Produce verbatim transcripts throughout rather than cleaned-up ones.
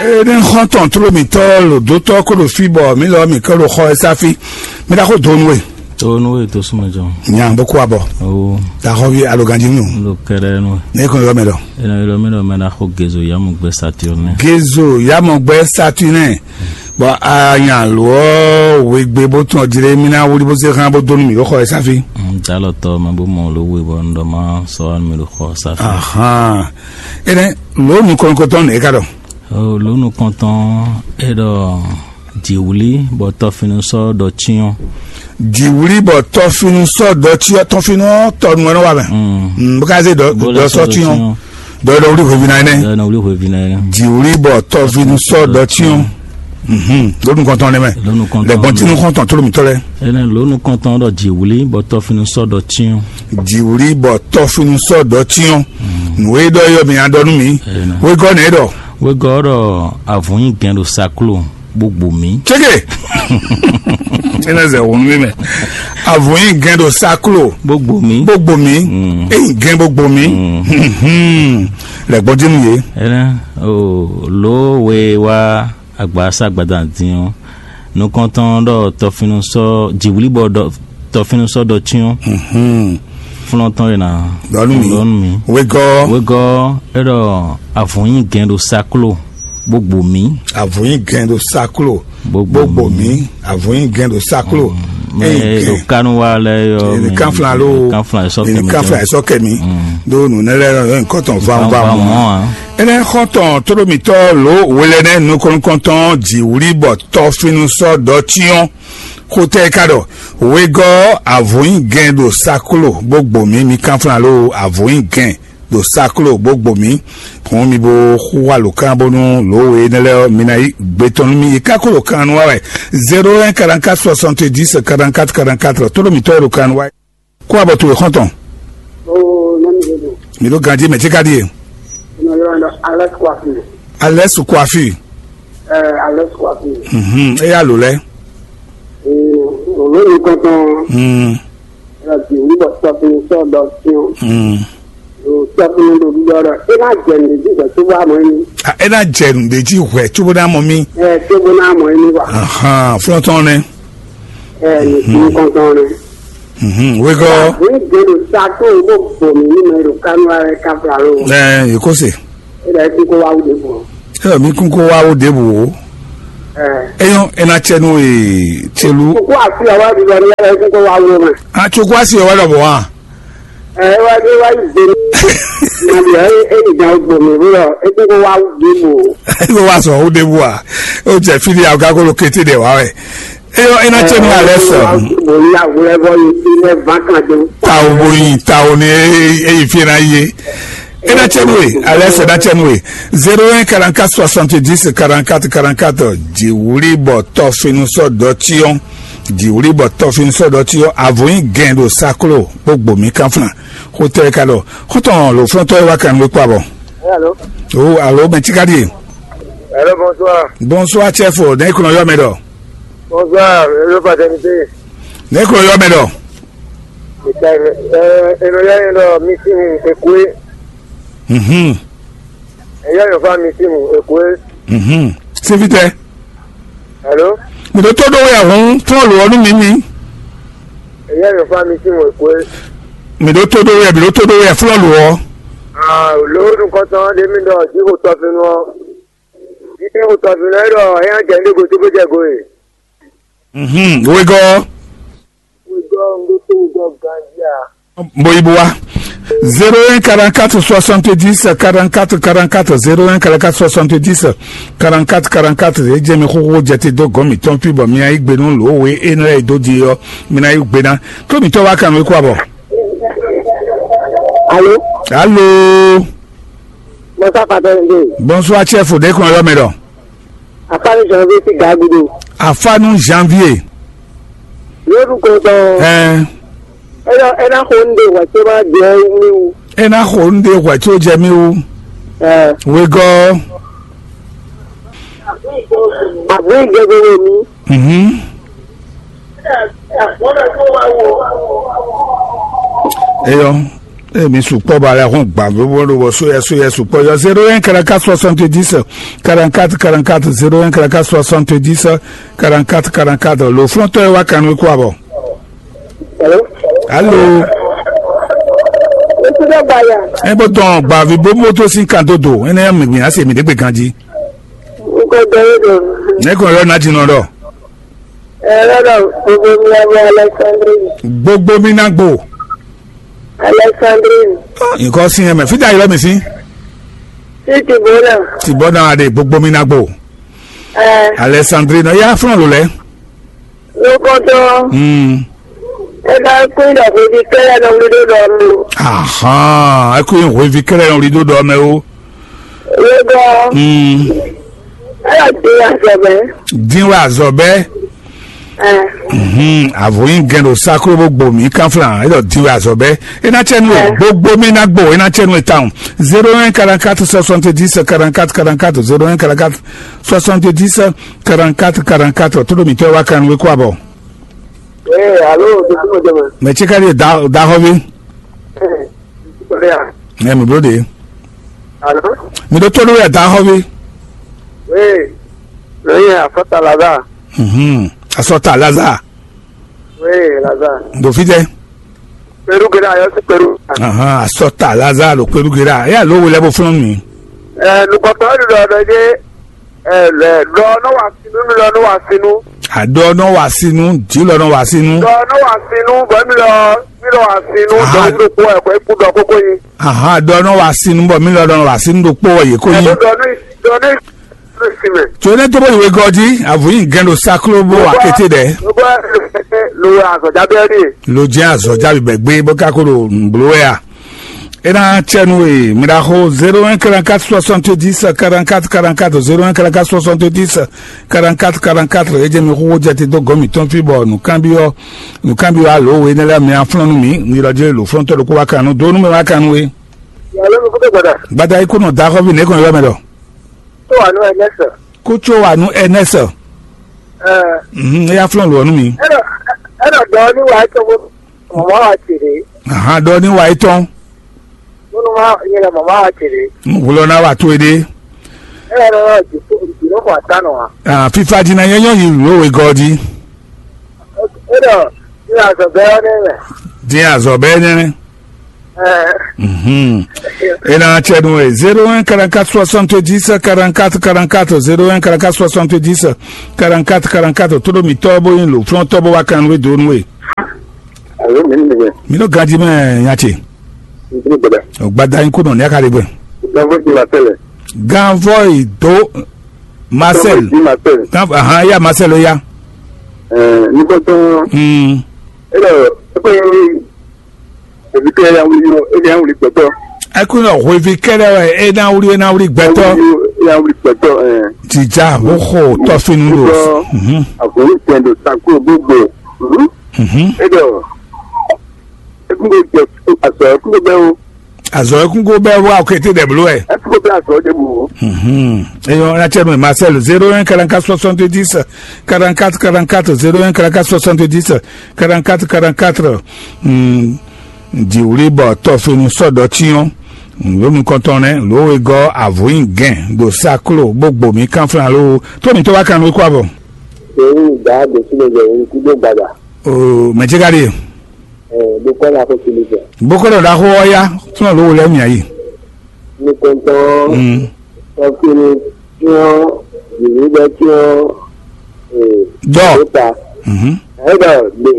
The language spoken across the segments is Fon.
Ene xɔntɔn tló mǐtɔn lǒdótɔ́ kó ɖo fí bɔ mǐ lɔ mǐ kɔ ɖo xɔ ɛ sáfí. Mi ɖa xó donu we. Donu we tó súnmọ́ jɔ. Nya bó kó abɔ. O. Da xɔ vi aloganji nù. Lo kɛrɛ nu. Ne kɔn yɔ mɛ dɔ. Ena yɔ mɛ dɔ mɛ na xɔ gezo yamu gbɛ Saturne. Gezo yamu gbɛ Saturne. Bɔn anya lɔ wegbe bó tún ɔdire mi na wuli bó se xan bó donu mi ɖo xɔ ɛ sáfí. Dalɔtɔ mɛ bó mɔ lo we bɔ ndɔ ma sɔ mi ɖo xɔ sáfí. Ahan. Ene lo nukɔnkɔtɔn ne ka dɔ. Lǒ nukɔntɔn é ɖɔ jǐwlí bɔ tɔfinu sɔ́ ɖɔ cyɔ́n. Jǐwlí bɔ tɔfinu sɔ́ ɖɔ cyɔ́n, tɔfinu ɔ́ tɔnu wɛ nɔ wa mɛ. Mm. Bó ka zé ɖɔ sɔ́ cyɔ́n. Ɖɔ ɖɔ wlí hweví na énɛ́. Ɖɔ wlí hweví na énɛ́. Jǐwlí bɔ tɔfinu sɔ́ ɖɔ cyɔ́n. Lǒ nukɔntɔn nɛ mɛ. Lǒ nukɔntɔn. Lɛgbɔn tinu xɔntɔn tló mitɔ lɛ. Énɛ́ lǒ nukɔntɔn ɖɔ jǐwlí bɔ tɔfinu sɔ́ ɖɔ cyɔ́n. Jǐwlí bɔ tɔfinu sɔ́ ɖɔ cyɔ́n. Nǔ e ɖɔ yɔ mi adɔ nú mi. Wegɔ́ nɛ ɖɔ. Wegɔ́ ɖɔ avɔ̌ nyi gɛn ɖo saklo bó gbo mǐ. Cége. Ene zɛ wonu mi mɛ. Avɔ̌ nyi gɛn ɖo saklo. Bó gbo mǐ. Bó gbo mǐ. Mm. Eyi gɛn bó gbo mǐ. Mm. Lɛgbɔn dín nú yě. Énɛ́ o lǒ we wá agbasa gbadanu dín ɔ́, nukɔntɔn ɖɔ tɔfinu sɔ́ jǐwlí bɔ ɖɔ tɔfinu sɔ́ ɖɔ cyɔ́n. Mhm. Flɔ́ntɔn e na Ɖɔ nú mì. Ɖɔ nú mì. Wegɔ́. Wegɔ́ é ɖɔ avɔ̌ nyi gɛn ɖo saklo bó gbo mǐ. Avɔ̌ nyi gɛn ɖo saklo. Bó gbo Bó gbo mǐ. Mǐ. Avɔ̌ nyi gɛn ɖo saklo. Mɛ Eyi ɖo gɛn. Kanu wa lɛ yɔ Mini kanflan lo. Kanflan sɔ Mini kɛmɛ kanflan tɔ. Sɔ kɛmi. Ɖo nǔ ne lɛ yɔ nkɔtɔn Van van van mɔ. Mɔ a. Ene xɔntɔn tóɖómitɔ lo wele ne nukɔnkɔntɔn jǐwlí bɔ tɔfinu sɔ ɖɔ tiɔn. Xotɛ ka ɖɔ wegɔ́ avɔ̌ nyi gɛn ɖo saklo bó gbo mǐ mi kanflan lo avɔ̌ nyi gɛn ɖo saklo bó gbo mǐ. Hɔn mi bo xú wa lǒ kan bónú lǒ we énɛ́ lɛ́ɛ ɔ́, mi ná yí gbe tɔn nú mì. Yi ká kó ɖo kan nu wa wɛ. Zéro un quarante-quatre soixante-dix quarante-quatre quarante-quatre, tó ɖo mǐtɔn e ɖo kan nu wa. Kó abɔ towe xɔ́ntɔn. Oo, nɔ mi ɖe do. Mi ɖo ganjí mɛ tí ka ɖíe. Nɔ yɔ nɔ Alex Kwafi. Alex Kwafi. Ɛɛ, Alex Kwafi. Mhm, eya lǒ lɛ. Ee, lǒ mi kɔntɔn. Mm. Ɛɛ, bi wuli bɔ tɔfin sɔ dɔ tiɲɔ. Mm. Tɔfin ɖo ɖuɖɔ ɖɔ e ná jɛ nǔɖé jí hwɛ tó bá mɔ yín. A, e ná jɛ nǔɖé jí hwɛ cóbó ná mɔ mì. Ɛ cóbó ná mɔ yín wa. Ahan, flɔ́ntɔn nɛ. Ɛ ní kɔntɔn nɛ. Mhm, wegɔ́. Ní gbé ɖo sa tó o bó bò mí ní mɛ ɖo kánú wa wɛ ká fla ló. Ɛ, yě kó se. E ɖɔ e kún kó wá wú ɖěbǔ. E ɖɔ mí kún kó wá wú ɖěbǔ o. Ɛ. Eyɔn, e ná cɛ nú e celu. Kókó àfi ọwọ́ mi lọ ní yàrá e kún kó wá wú mẹ́. A tso kó asi ọwọ́ lọ bọ̀ wá. Ɛ, e wá e wá yí gbé ní. Nàbí ẹ e ní gan gbò mí bó lọ e kún kó wá wú ɖěbǔ o. Yóò wá sọ wú ɖěbǔ a. Ó jẹ fídíò àgá kó ló kété ɖẹ̀ wá wẹ̀. Eyɔ, e ná cɛ nú alɛ sɔ. Boli awulɛ bɔ yi ti lɛ van kan do. Tawo bo yin tawo ni eyi fi na ye. E ná cɛ nú e alɛ sɔ ná cɛ nú e. Zéro un quarante-quatre soixante-dix quarante-quatre quarante-quatre. Jiwuli bɔ tɔfinu sɔ dɔtiɔn. Jiwuli bɔ tɔfinu sɔ dɔtiɔn. Avoyin gɛn do saklo gbogbo mi kanfuna. Xotɛ ka dɔ. Xotɔn lo flɔntɔ wa kan we kpa bɔ. Hello. O alo mɛ tika die. Hello, bonsoir. Bonsoir chef, ne kono yɔ mɛ dɔ. Bonsoir, hello fraternité. Ne ko yɔ mɛ dɔ. Ita ɛ eno ya yen dɔ misimu ekue. Mhm. Eya yɔ fa misimu ekue. Mhm. Sivitɛ. Hello. Mi ɖo tó ɖó wɛ hun fún ɔlù ɔnú mi mi. Eya yɔ fa misimu ekue. Mi ɖo tó ɖó wɛ mi ɖo tó ɖó wɛ fún ɔlù ɔ. Ah, lóòdù kɔtɔn ɖe mi dɔ jíxo tɔfinu ɔ. Jíxo tɔfinu ɛ dɔ eya jɛ ndé go tó bó jɛ go e. Mhm. Wegɔ. Wegɔ ŋgó tó wegɔ gandia. Boyibowa. Zéro un quarante-quatre soixante-dix quarante-quatre quarante-quatre, zéro un quarante-quatre soixante-dix quarante-quatre quarante-quatre. E jɛ mi xoxo jɛ te dó gɔn mi tɔn fi bɔ mi ayi gbe nú lo we e nɔ e dó di ɔ mi na yi gbe na. Tó mi tɔ wa kan wé kó abɔ. Alo. Alo. Bonsoir, Papa Nde. Bonsoir, chef. De kɔn yɔ mɛ dɔ. Afanu Janvier ti Gagudu. Afanu Janvier. Lórúkọ tán. Ɛ. Ẹ lọ, ẹ náà kó ń de wà tí ó máa jẹ mí wú. E na xo nu ɖe hwɛ tso jɛ mì wú. Ɛ. Wegɔ. Àbúrò ìjọba mi. Mhm. Eyɔ. Emi sukpɔ́ ba lɛ́ hɔn gbǎ bó bó ɖo bɔ sóyɛ sóyɛ sukpɔ́ yɔ zéro un quarante-quatre soixante-dix quarante-quatre quarante-quatre, zéro un quarante-quatre soixante-dix quarante-quatre quarante-quatre. Lo flɔ́ntɔ́ e wá kan nú kú abɔ. Alo. Alo. Ŋutsu ɖe gbaya. E bó tɔn gbàví bó moto sín kan dó do. Énɛ́ mi gbìn á se mi ɖé gbe ganjí. Ŋkɔ dɔ yé dɔ. Ne kò yɔ ná jinɔ ɖɔ. Ɛ lɔ dɔ gbogbo mi abɔ Alexandrine. Gbogbo mi ná gbo. Alexandrine. Nǹkan sí yẹn mẹ́ fídà yìí lọ́mì sí. Sí Tìbónà. Tìbónà adé gbogbo mi ná gbo. Ɛ. Alexandrine ya fúnra lò lẹ́. Lókɔtɔ. Hmm. Ẹ bá kú ìdàgbò di kẹ́lẹ́ lọ wí dó dọ̀ mí. Ahan, ẹ kú ìhòòhò ivi kẹ́lẹ́ lọ wí dó dọ̀ mẹ́ o. Lókọ́. Hmm. Ẹ yà dín àzọ bẹ́ẹ̀. Dín wá àzọ bẹ́ẹ̀. Ẹ. Mhm, àvòyìn gẹ̀ẹ́dọ̀ sakuro bó gbòmí kánfìlà ẹ lọ dín wá àzọ bẹ́ẹ̀. Ẹ náà tiẹ̀ nù ẹ gbogbo mi náà gbò ẹ náà tiẹ̀ nù ẹ táwọn. Zéro un quarante-quatre soixante-dix quarante-quatre quarante-quatre, zéro un quarante-quatre soixante-dix quarante-quatre quarante-quatre. Tó lómi tẹ́ wá kan wé kó àbọ̀. Ee, alo, dukúnú jẹmẹ. Mɛ tsi ka ɖi da da xɔ vi. Ee, dukúnú ya. Ɛ mi blo de. Alo. Mi ɖo tó ɖo ya da xɔ vi. Ee, lóye afɔta laza. Mhm. Asɔta laza. Ee, laza. Ɖo fi tɛ. Peru gera yɔ si peru. Ahan, asɔta laza ɖo peru gera. Eya lo wele bo flɔn mi. Ɛ, nukɔtɔ ɖo ɖɔ ɖɔ ɖe. Ɛ, lɛ ɖɔ nɔ wa sinu mi lɔ nɔ wa sinu. Aɖɔ nɔ wa sinu, dzi lɔ nɔ wa sinu. Ɖɔ nɔ wa sinu bɔ mi lɔ mi lɔ wa sinu. Aha. Dɔ mi ɖo kpɔ ɛ kɔ eku dɔ koko yi. Aha, ɖɔ nɔ wa sinu bɔ mi lɔ nɔ wa sinu ɖo kpɔ wɔ yě ko Ɛ yi. Ɖɔ nɔ ɖɔ nɔ si mɛ. Tso ne to bó yi wegɔji, avu yi gɛn ɖo saklo bó wa kété ɖɛ. Ló bá lo azɔjá bɛ rí. Lo jẹ́ azɔjá bibɛ gbé bó ká kó ɖo nblo wɛ a. E ná tsɛ nú e mi ɖaxó zéro un quarante-quatre soixante-dix quarante-quatre quarante-quatre, zéro un quarante-quatre soixante-dix quarante-quatre quarante-quatre. E jɛ mi xóxó jɛ te dó gɔ́ mǐtɔn fí bɔ nǔkanbyɔ́ nǔkanbyɔ́ alo we énɛ́ lɛ́ɛ mi aflɔ́n nú mǐ, mi lɔ jɛ lo flɔ́ntɔ́ ɖokpó wá kan nú dó nú mɛ wá kan nú we. Yàrá mi kúndé gbàdà. Gbada ikú nɔ da xɔ́ vi nɛ̌ kɔn ylɔ́ mɛ ɖɔ. Tó wà nú ẹ nẹ́sẹ̀. Kó tso wà nú ẹ nẹ́sẹ̀. Ẹ. Mhm, e yá flɔ́n lò ọ́ nú mi. Ẹ nọ ẹ nọ dɔ ní wàá tó mọ́ mọ́ wá tèrè. Ahan, ɖɔ ní wa étɔn. Múnú má nyɛ lɛ mama wa tèrè. Wulɔ ná wa tó e ɖe. Ɛ yɛ lɔ jù jù ló kɔ ata nɔ wa. Ah, fifa dina nyɛ nyɔ yi lo we gɔdi. E dɔ ní azɔ bɛ ɔ ne mɛ. Din azɔ bɛ ne. Ɛ. Mhm. E na tsɛ nu e zéro un quarante-quatre soixante-dix quarante-quatre quarante-quatre, zéro un quarante-quatre soixante-dix quarante-quatre quarante-quatre, todo mi tɔ bo yin lo flɔn tɔ bo wa kan we do nu e. Alo, mi ni mɛ. Mi nɔ ganji mɛ nya ce. Mi ni gbɛdɛ. O gbada yin ko nɔ ní a ka ɖe gbɛ. Ganvɔ ti Marcel. Ganvɔ yi do Marcel. Ganvɔ ti Marcel. Ganvɔ ahan ya Marcel ya. Ɛɛ, nukɔntɔn. Hmm. E lɔ, e ko yin ebi kɛ ya wuli yɔ, e ya wuli gbɛtɔ. Eku nɔ hwevi kɛlɛ wɛ e na wuli e na wuli gbɛtɔ. E ya wuli gbɛtɔ, ɛɛ. Jija hoho tɔfinu do. Mhm. Akɔni tɛn do tako gbogbo. Mhm. Mhm. E dɔ. Ekungo jɛ asɔ ekungo bɛ o. Azɔ ekungo bɛ wa o kete dɛ blo ɛ. Ekungo bɛ asɔ de bu o. Mhm. Eyɔn na cɛ no Marcel zéro un quarante-quatre soixante-dix quarante-quatre quarante-quatre, zéro un quarante-quatre soixante-dix quarante-quatre quarante-quatre. Hmm. Diwuli bɔ tɔfinu sɔdɔ tiɲɔ. Lómi kɔntɔn nɛ lówó e gɔ avoyin gɛn do saklo gbogbo mi kanflan lo. Tó mi tó wá kan lóko abɔ. Èyí ìgbà àgbèsílẹ̀ jẹ́ èyí tí ló gbàgbà. O mɛ jẹ́ ká rí. Ɛ, bó kọ́ la kó kili jɛ. Bó kọ́ lọ da xó ɔ́ yá, fúnà ló wo lɛ́ mì ayé. Ní tɔntɔn, Mm. Tɔkiri, tiɲɔ, yìnyín bɛ tiɲɔ, ee, Dɔ. Nípa. Mhm. Ɛ dɔ, de,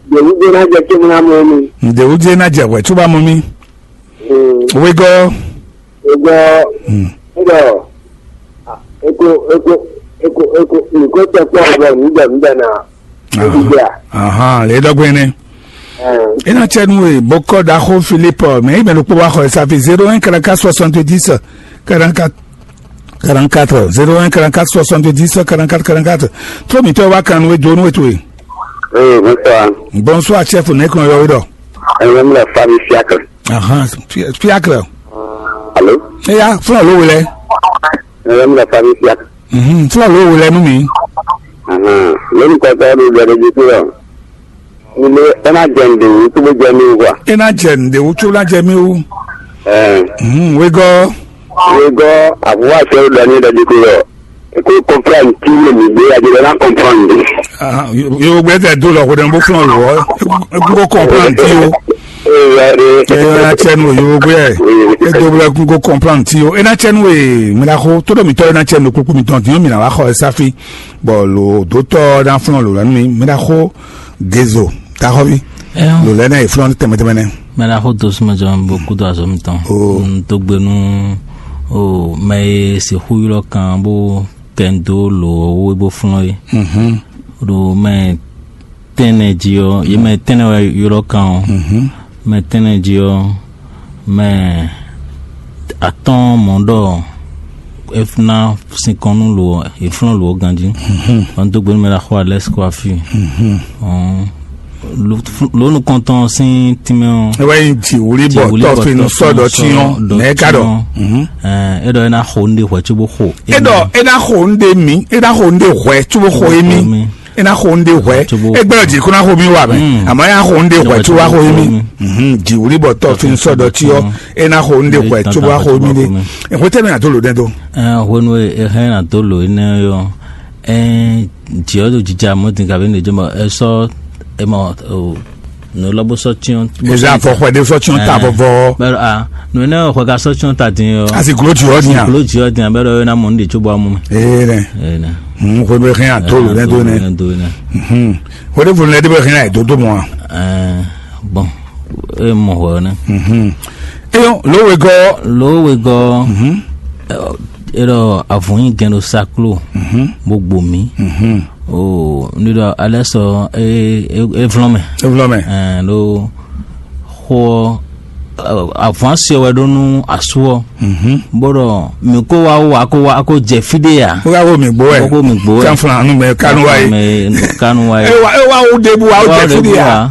de, de, de, na jɛ kí mu na mɔ mi. Ǹdè wúdí ná jẹ wẹ̀ tó bá mọ mí. Mm. Wégọ́. Ego, Mm. Ego, eko, eko, eko, eko, nìkó tɛ kpɔ ɔgbɛ nígbà nígbà na. Aha. Nígbà. Aha, lè dɔgbe ne. Ɛn. Ina tsɛ nu e bokɔ daxo Philippe mɛ yi mɛ ɖokpó wa xɔ esafi zéro un quarante-quatre soixante-dix quarante-quatre quarante-quatre, zéro un quarante-quatre soixante-dix quarante-quatre quarante-quatre. Trɔ mi tɔ wa kan nu e do nu e to e. Ee, bonsoir. Bonsoir chef, ne kɔn yɔ wi dɔ. Ɛn, mi le Fabi Fiacre. Ahan, Fi- Fiacre. Alo? Eya, fún alo wele. Ɛn, mi le Fabi Fiacre. Mhm, fún alo wele nu mi. Ahan, lónìí kɔtɔ ló bẹ̀rẹ̀ ju kúrò. Mi ɖe é ná jɛ nǔɖé wú cóbó jɛ mì wú a? É ná jɛ nǔɖé wú có ná jɛ mì wú. Ɛɛ. Hmm, wegɔ́. Wegɔ́, àbúrò àti ɛrú ɖɔ ní ɖɔjí kú lɔ. Kó kɔnplan tí yé mi gbé, a jẹ ná kɔnplan mi. Yóò gbé tɛ dó lɔ kó dɛ bó flɔn lò ɔ, kó kɔnplan tí o. Ee, wɛ de. Ɛ yɔ ya tsɛ nu yóò gbé ɛ. E do blɛ kó kɔnplan tí o. E na tsɛ nu e mi na xó tó ɖo mi tɔ e na tsɛ nu kpókpó mi tɔn dín mi na wá xɔ ɛ sáfí. Bɔ lò dó tɔ na flɔn lò lɛ nu mi mi na xó gezo taxɔvi. Lò lɛ na yi flɔn tɛmɛ tɛmɛ nɛ. Mɛ ɖaxó dó súnmɛ jɔ bó kúdó azɔ̌ mitɔn. Ó. Un dó gbe nú ó mɛ e sixú ylɔ́ kan bó kɛ ń dó lǒ ɔ́ wú bó flɔ́n é. Mhm. Ɖo mɛ tɛ́nnɛ jí ɔ́, yě mɛ tɛ́nnɛ wɛ ylɔ́ kan ɔ́. Mhm. Mɛ tɛ́nnɛ jí ɔ́, mɛ atɔ́ɔ́n mɔ̌ ɖɔ é ná sinkɔn nú lǒ ɔ́, è flɔ́n lǒ ɔ́ ganjí. Mhm. Vɔ un dó gbe nú mɛ ɖaxó Alɛ́si kó wá fí. Mhm. Ɔ́n, lǒ nukɔntɔn sín tínmɛ ɔ́. É wɛ nyí jǐwlí bɔ tɔ́finu sɔ́ ɖɔ cyɔ́n nɛ̌ ká ɖɔ? Mhm. Ɛ, é ɖɔ é ná xo nǔɖé hwɛ̌ cóbó xo. É ɖɔ é ná xo nǔɖé mì, é ná xo nǔɖé hwɛ̌ cóbó xo émí. É ná xo nǔɖé hwɛ̌. Cóbó é gbɛ́ jí kó ná xo mì wá mɛ. Mm. Àmọ́ é ná xo nǔɖé hwɛ̌ cóbó wá xo émí. Mhm. Jǐwlí bɔ tɔ́finu sɔ́ ɖɔ cyɔ́n, é ná xo nǔɖé hwɛ̌ cóbó wá xo émí ɖé. Hwetɛ́nu nya dó lǒ nɛ́ dó. Ɛ, hwenu e è hɛn ná dó lǒ énɛ́ ɔ́, ɛ, jǐ ɔ́ ɖo jija mɔ̌ din kabi nǔ ɖě jɔ mɔ è sɔ́ è mɔ o nǔ lɔ bó sɔ́ cyɔ́n. Eza afɔ xwɛ ɖé sɔ́ cyɔ́n ta vɔvɔ. Bɛ́ a nǔ énɛ́ xwɛ ka sɔ́ cyɔ́n ta din ɔ́. Asi glo jǐ ɔ́ din a. Glo jǐ ɔ́ din a bɛ́ ɖɔ é ná mɔ nǔ ɖě cóbó amú mɛ. Ee nɛ. Ee nɛ. Hwenu e hɛn a dó lò nɛ dó nɛ. Dó nɛ. Hwenu e funu lɛ dé bɛ hɛn a yi dó dó mɔ a. Ɛɛ, bɔn e mɔ hwɛ ɔ́ nɛ. Eyɔn lówegɔ. Lówegɔ. Ɛ, é ɖɔ avɔn nyi gɛn ɖo saklo bó gbo mǐ. O ní ɖɔ alɛ sɔ é é é vlɔ́n mɛ. Evlɔ mɛ. Ɛɛ ɖo xó ɔ́, avɔn asi wɛ ɖó nú asú ɔ́. Bó ɖɔ mǐ kó wá wá kó wá kó jɛ fí ɖé ya. Ó yà wó mǐ gbó wɛ. Kókó mǐ gbó wɛ. Kanflan nu mɛ kanu wá yé. Mɛ kanu wá yé. É wá é wá wó ɖébú wá ó jɛ fí ɖé ya.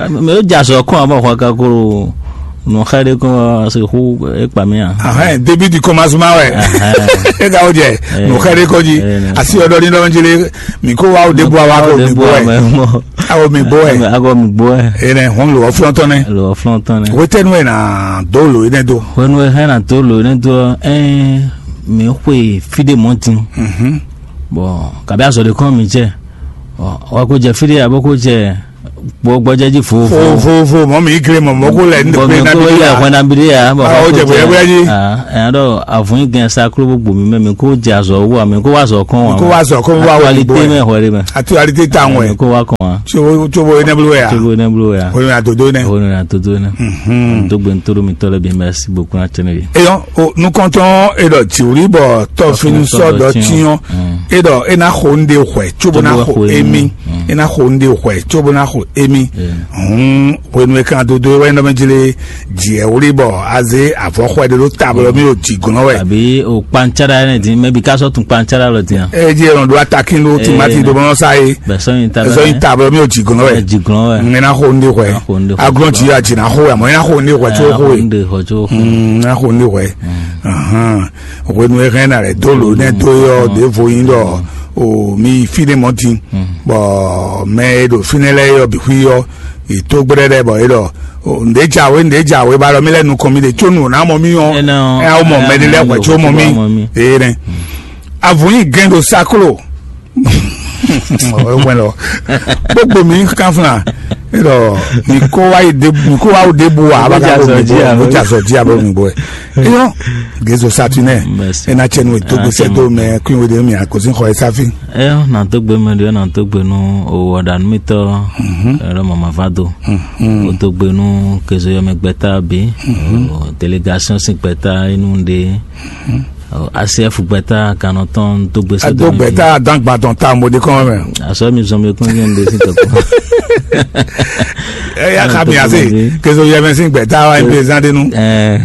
Mɛ ó jà sɔ kɔn àbọ̀ xɔ kakoro nù xɛ ɖé kɔn se xú é kpa mí à. Ahɛn début du commencement wɛ. É ka wó jɛ nù xɛ ɖé kɔn jí asi ɔdɔ ní lɔn jí lé. Mǐ kó wá wó ɖébú wá kó mǐ gbó wɛ. Awo mǐ gbó wɛ. Awo mǐ gbó wɛ. Énɛ́ hɔn lò ɔ́ flɔ́ntɔ́ nɛ́. Lò ɔ́ flɔ́ntɔ́ nɛ́. Hwetɛ́nu wɛ nà dó lò énɛ́ dó. Hwenu e hɛn na dó lò énɛ́ dó ɔ́, ɛ́n mǐ xwe fí ɖé mɔ̌ din. Bɔn kabi azɔ̌ ɖé kɔn mǐ jɛ. Wá kó jɛ fí ɖé abo kó jẹ gbɔgbɔjɛ jí vovo. Vovo mɔ mi gre mɔ mɔ ko lɛ ní pe na bi ya. Hwɛ na bi ya bɔ awo jɛ bɔ yɛbɔ yɛ ji. Ɛn dɔ avun yi gɛn saklo bó gbomi mɛ mi ko jɛ azɔ wu mi ko wa azɔ kɔn wa. Ko wa azɔ kɔn wa wo actualité mɛ hwɛ de mɛ. Actualité ta wɛ. Mi ko wa kɔn wa. Tsobo tsobo enebulu ya. Tsobo enebulu ya. Hwɛ na dodo ne. Hwɛ na dodo ne. Dogbe ntoro mi tɔlɛ bi merci beaucoup na tɛnɛ bi. Eyɔn o nukɔntɔn edɔ tiwuli bɔ tɔfinu sɔ dɔ tiɲɔ. Edɔ ena xo nu de hwɛ tsobo na xo emi. Ena xo nu de hwɛ tsobo na xo emi. Hun hwenu e kan dodo e wɛ nɔ mɛ jele diɛ wuli bɔ aze avɔ xɔ ɛdi ɖo tablɔ mi o ti gɔnɔ wɛ. Àbí o kpantsara ne di mɛ bi ka sɔ tun kpantsara lɔ di yan. Eye di yɛlɛ ɖo atakin ɖo timati ɖo mɔ sa ye. Bɛ sɔ yin ta. Sɔ yin tablɔ mi o ti gɔnɔ wɛ. Di gɔnɔ wɛ. Ŋmɛ na xo nu de hwɛ. Agulɔ ti yɔ ati na xo wɛ mɔ ena xo nu de hwɛ tso xo ye. Ena xo nu de hwɛ. Hwenu e hɛn na lɛ do lo nɛ do yɔ ɖevo yin ɖɔ o mi fi ɖe mɔ tin. Bɔ mɛ e ɖo fínɛ́ lɛ́ɛ yɔ bixwi yɔ ètò gbɛɖɛɖɛ bɔ é ɖɔ nɖě jǎwe nɖě jǎwe ba ɖɔ mí lɛ́ nukɔn mí ɖe có nǔ ná mɔ mí ɔ́. Ɛ awo mɔ mɛ ɖé lɛ́ hwɛ có mɔ mí. Ee nɛ avun yi gɛn ɖo saklo. Wɛn lɔ gbogbo mi kanfuna. Elɔ mi ko wa yi de mi ko wa wo de bu wa abaka ko mi bo ja zɔ ji abo mi bo ɛ. Eyɔ gezo satinɛ. Ena tsɛ nu eto gbèsè do mɛ kún wo de mi akosin xɔ ɛ safi. Ɛ na dó gbe mɛ ɖe na dó gbe nú owó ɔ̀dà nú mi tɔ. Ɛlɔ mama va do. O dó gbe nú kezo yɔ mɛ gbɛta bi. Délégation si gbɛta inú ɖe. Asiɛfu gbɛta kanɔ tɔn dó gbe sɛ. Dó gbɛta dán gbadɔn ta mo de kɔn mɛ. Asɔ mi zɔn mi kún yɛn de si tɔkɔ. Ɛ ya ka mi ase kezo yɛ mɛ si gbɛta wa ɛn pezan de nu.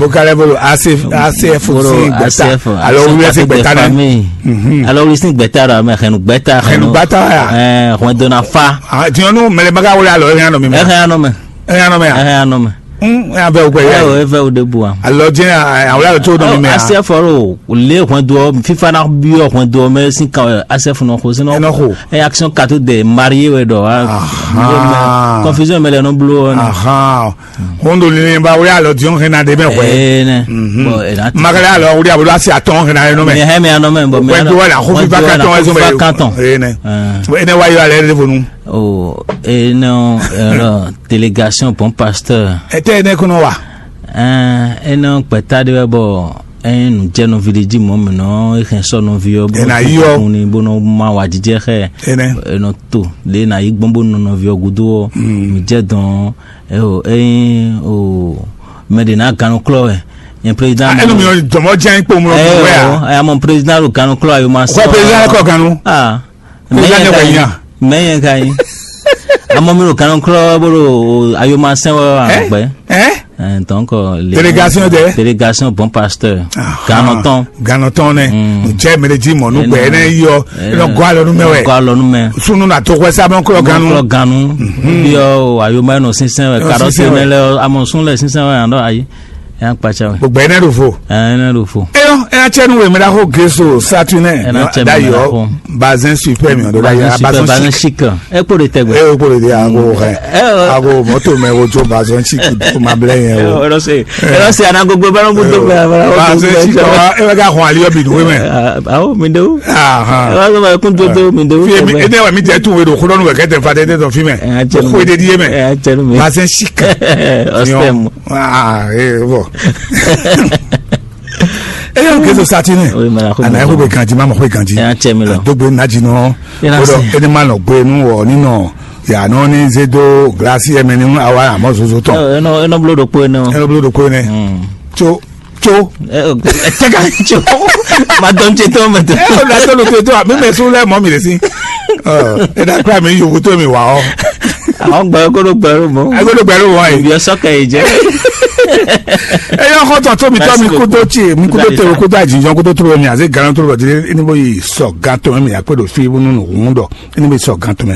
Bokalɛ bolo asef asef si gbɛta alo wuli si gbɛta nɛ. Alo wuli si gbɛta la mɛ xɛnu gbɛta xɛnu gbata ya. Ɛ xɔn dona fa. Tiɲɔnu mɛlɛ baga wuli alo ɛhɛn anɔ mi mɛ. Ɛhɛn anɔ mɛ. Ɛhɛn anɔ mɛ ya. Ɛhɛn anɔ mɛ. Hum, ɛ avɛ o gbɛ ɛ yá o, ɛ vɛ o ɖe bu a. Alɔ jɛ awla lɔ tó nɔ mi mɛ a. Asɛfɔ lo le hwɛndo ɔ, fifa na biɔ hwɛndo ɔ mɛ sin kan asɛfɔ nɔ xo sin nɔ. Ɛ nɔ xo. Ɛ action katu de marié wɛ dɔ wa. Confusion mɛ lɛ nɔ blo ɔ. Ahan. Hondo ni ba wuli alɔ diɔn hɛn na de mɛ hwɛ. Ɛ nɛ. Bon, ɛ na. Makala alɔ wuli abolo asi atɔn hɛn na yɛ nɔ mɛ. Mɛ hɛ mɛ anɔ mɛ bɔn mɛ. Wɛndo wɛ la xo fifa katɔn ɛsɛ mɛ. Katɔn. Ɛ nɛ. Ɛ nɛ wa yɔ alɛ de fonu. O ɛ nɔ ɛ lɔ délégation bon pasteur. Ete ene kɔnɔ wa. Ɛn enɔ gbɛta ɖe wɛ bɔ ɛn nǔjɛnɔvi ɖe jí mɔ̌ mǐ nɔ hɛn sɔ́ nɔví ɔ́ bó Ena yi ɔ́. Kun ni bó nɔ má wǎjijɛ xɛ. Ene. Enɔ to ɖe na yi gbɔn bó nɔ nɔví ɔ́ gúdo ɔ́. Mǐ jɛ dɔn ɛ o ɛyin o mɛ ɖe na gannú klɔ wɛ nyɛ président. Enu mi ɔ jɔmɔ jẹ́ ipò mu ɔ ɛ wɛ o. Ɛ amɔ président ɖo gannú klɔ ayo ma sɔ. Kɔ président kɔ gannú. Ah. Président ne kɔ nya. Mɛ yẹn ka yi. Amɔ mi ɖo gannú klɔ bó ɖo ayo ma sɛn wɛ wà gbɛ. Ɛ. Ɛ, donc, les Délégation de? Délégation bon pasteur. Gannɔtɔn. Gannɔtɔn nɛ. Jɛ mɛ de ji mɔ nu gbɛ ne yɔ. Nɔ gɔ alɔ nu mɛ wɛ. Gɔ alɔ nu mɛ. Sunu na to xɔ sa mɔ klɔ ganu. Klɔ ganu. Yɔ ayoma nɔ sinsɛn wɛ. Karɔti mɛ lɛ amɔ sun lɛ sinsɛn wɛ yan dɔ ayi. Yan kpatsa wɛ. Gbogbo ɛnɛ ɖo fo. Ɛnɛ ɖo fo. Eyɔ ɛna cɛ nu wɛ mɛ ɖa ko geso satunɛ. Ɛna cɛ nu mɛ ɖa ko. Bazin super mi ɔdɔ ɖa yɛ. Bazin super, bazin chic. Ɛ kpo de tɛgbɛ. Ɛ kpo de ago hɛ. Ago mɔto mɛ ko jo bazin chic ko ma blɛ yɛ o. Ɛlɔ se ɛlɔ se anagogo bɛ lɔbu do bɛ abala. Bazin chic wa e bɛ ka hɔn ali yɔ bi nuwe mɛ. Awo mi de o. Ɛlɔ se ma kun do do mi de o. Fi mi ene wa mi jɛ tu we do xulɔnu wɛ kɛ tɛ fa de de dɔ fi mɛ. Ko de di ye mɛ. Bazin chic. Ɔsitɛmu. Ah, eh, bon. Eyɔ ke so sati ne. Oui, mais la ko. Ana ko be ganji ma mo ko ganji. Ya cɛ mi lɔ. Dogbe naji nɔ. Odo ene ma nɔ gbe nu wɔ ni nɔ. Ya nɔ ni ze do glasi eme ni awa amɔ zozo tɔn. Eno eno blo do ko eno. Eno blo do ko ne. Tso tso. Tega tso. Ma dɔn tse tɔn mɛ tɔn. Ɛ o la tɔn tse tɔn mi mɛ sun lɛ mɔ mi de si. Ɔ ena kura mi yovo to mi wa ɔ. Àwọn gbẹ̀rù kó ló gbẹ̀rù mọ́. Ẹ kó ló gbẹ̀rù wọ́n yìí. Ìbí ọsọ kẹ yìí jẹ́. Eyɔ xɔtɔ tó mi tɔ mi kó tó tsi mi kó tó tẹwé kó tó àjìjọ kó tó tó mi àti gan tó lọ jílé ní bó yi sọ gan tó mi àpé do fi nínú òun dọ ní bó yi sọ gan tó mi.